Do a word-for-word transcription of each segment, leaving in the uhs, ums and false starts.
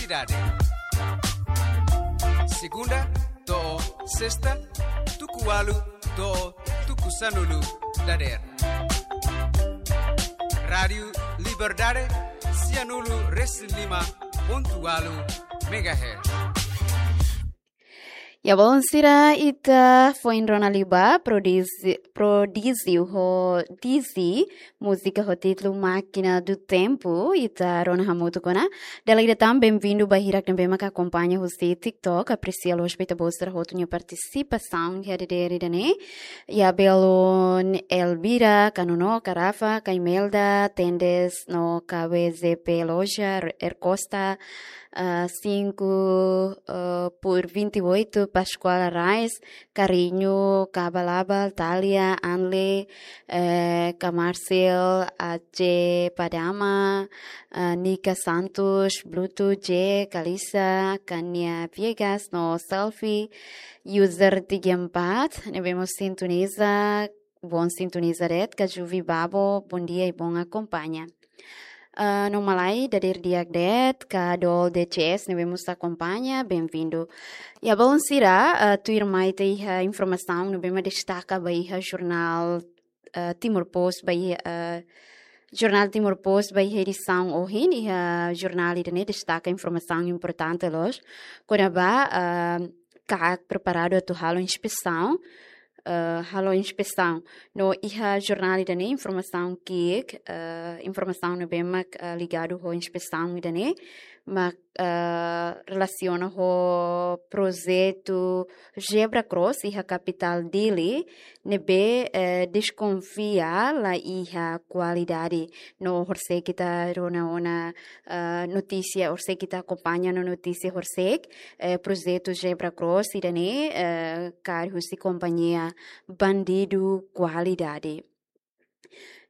Dade. Segunda to'o sesta, tuku ualu to'o tuku sanulu dadeer. Rádiu Liberdade, sianulu resin lima pontu ualu megahertz. Ya, balun sira, ita foin rona liubá, prodíjiu, prodíjiu ho Dizzy, múzika ho títulu Máquina do Tempo, ita rona hamutuk ona. Dala ida tan, benvindu ba hirak ne'ebé maka akompaña husi TikTok, apresia loos ba ita-boot sira hotu nia partisipasaun iha dadeer ida-ne'e. Ya, belun Elvira, ka Nono, ka Rafa, ka Imelda, Tendes, no ka W Z P Loja, R Costa, ah, cinco, ah, por vinte e oito, Pascoal Arraes, Carinho, Kabalabal, Thalia, Anle, eh, ka Marcel, Aje Padama, ah, Nica Santos, Bluto, J, Kalisa, Kania Viegas, no Selfie, user tiga empat, ne'ebé mós sintoniza, bom sintoniza de'it, Kajuvi Babo, bom dia i bom akompaña. Ah, no Malai, dadeer di'ak de'it, ka Dol D C S, ne'ebé mós akompaña, benvindu. Ya, balun sira, ah, tuirmai ita iha informasaun ne'ebé mak destaka ba iha jornál, ah, Timor Post, ba iha, ah, jornál Timor Post, ba iha edisaun ohin, iha jornál ida-ne'e destaka informasaun importante loos, kona-ba, ah, KAK preparadu atu halo inspesaun, eh, halo inspesaun. No iha jornál ida-ne'e informasaun ki'ik, eh, informasaun ne'ebé mak, eh, ligadu ho inspesaun ida-ne'e, mak, eh, relasiona ho projetu Zebra Cross iha kapitál Dili, ne'ebé, eh, deskonfia la iha kualidade. No horisehik ita rona ona, eh, notísia, horisehik ita akompaña no notísia horisehik, eh, projetu Zebra Cross ida-ne'e, eh, kaer husi kompañia Bandidu Kualidade.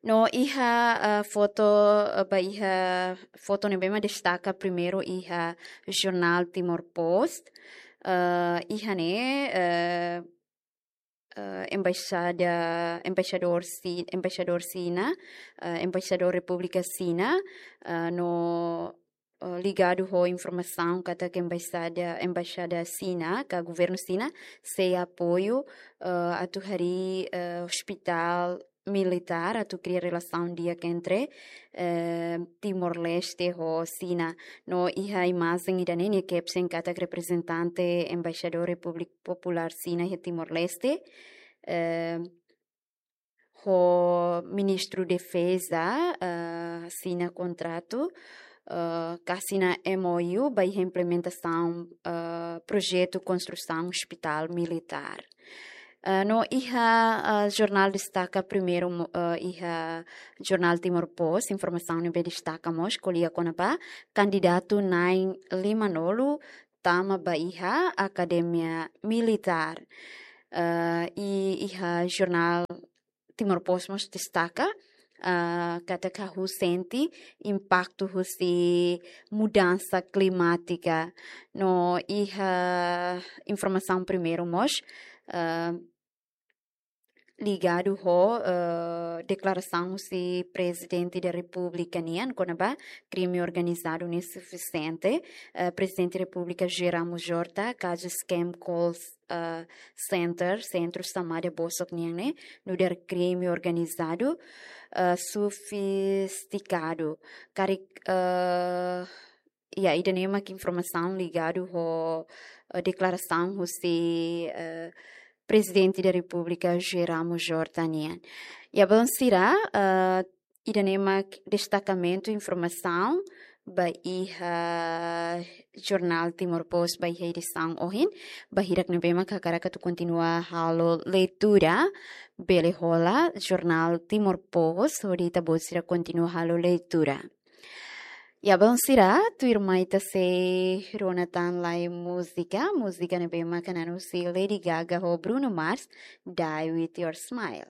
No iha, eh, foto, eh, ba iha foto ne'ebé mak destaka primeiru iha jornál Timor Post. Eh, iha ne'e, eh, eh, embaixada, embaixadór Si-, embaixadór Xina, eh, embaixadór Repúblika Xina, eh, no, eh, ligadu ho informasaun katak embaixada, embaixada Xina, ka governu Xina, sei apoiu, eh, atu harii, eh, ospitál militár, atu kria relasaun di'ak entre, eh, Timor-Leste ho Xina. No iha imajen ida-ne'e nia caption katak reprezentante embaixadór Repúblika Populár Xina iha Timor-Leste, eh, ho Ministru Defeza, eh, asina kontratu, eh, ka asina M O U ba iha implementasaun, eh, projetu konstrusaun ospitál militár. Eh, no iha, eh, jornál destaka primeiru mo-, eh, iha jornál Timor Post, informasaun ne'ebé destaka mós ko'alia kona-ba kandidatu na'in lima-nulu tama ba iha akademia militár. Eh, i iha jornál Timor Post mós destaka, eh, katak hahú sente impaktu husi mudansa klimátika. No iha informasaun primeiru mós, eh, ligadu ho, eh, deklarasaun husi Prezidente da Repúblika nian, kona-ba krime organizadu ne'e sufisiente, eh, Prezidente Repúblika José Ramos Horta, kazu scam call, eh, center, sentru xamada bosok nian ne'e, nu'udar krime organizadu, eh, sofistikadu. Karik, eh, ya, ida-ne'e mak informasaun ligadu ho, eh, deklarasaun husi, eh, Prezidente da Repúblika José Ramos Horta nian. Ya, balun sira, eh, ida-ne'e mak destakamentu informasaun ba iha jornál Timor Post ba iha edisaun ohin. Ba hirak ne'ebé mak hakarak atu kontinua halo leitura, bele hola jornál Timor Post, hodi ita-boot sira kontinua halo leitura. Ya, balun sira, tuirmai ita sei rona tan lai múzika, múzika ne'ebé mak hanesan husi Lady Gaga ho Bruno Mars, Die With Your Smile.